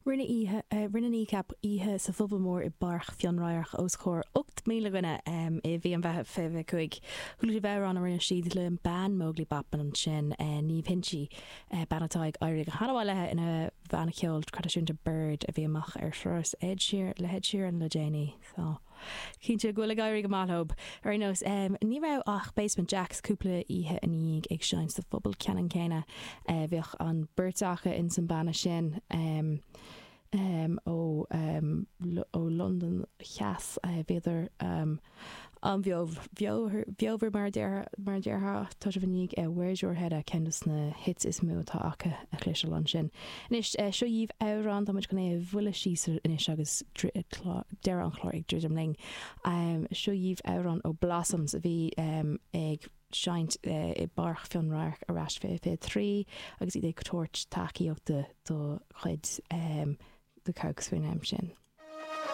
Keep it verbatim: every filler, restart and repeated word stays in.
Rinne oíche rinne Kneecap oíche sa phuball mór i bPáirc Fhionnradharc os comhair ocht míle duine i mhí an Mheithimh fiche cúig. Chuala sibh amhrán a rinne siad le bean Móglaí Bachmann ansin Niamh Hinchey, bean atá ag éirí go han-mhaith léi ina bhanna ceoil traidisiúnta Bird a bhí amach ar thuras Ed Sheeran le Ed Sheeran le déanaí. So cinnte go bhfuil ag éirí go maith leo. Ar aon nós ní raibh ach Basement Jaxx cúpla oíche ina dhiaidh ag seinnt sa phuball ceannann céanna bhíodh an bheirt acu in san banna sin. Um, um, ó um, ó Londain Theas bhíodar um, an bheomhar mar mar déarfá tá sibh ag Where's Your Head At ceann de na hits is mó atá acu a chloisteáil ansin. Anois seo dhaoibh amhrán tá muid chun é a bhualadh síos anois agus deireadh an chláir ag druidim linn. Um, seo dhaoibh amhrán ó Blossoms a bhí um, ag seinnt uh, i bPáirc Fhionnradharc ar ais fiche fiche trí agus iad ag tabhairt tacaíochta do chuid um, The Kooks faoin am sin.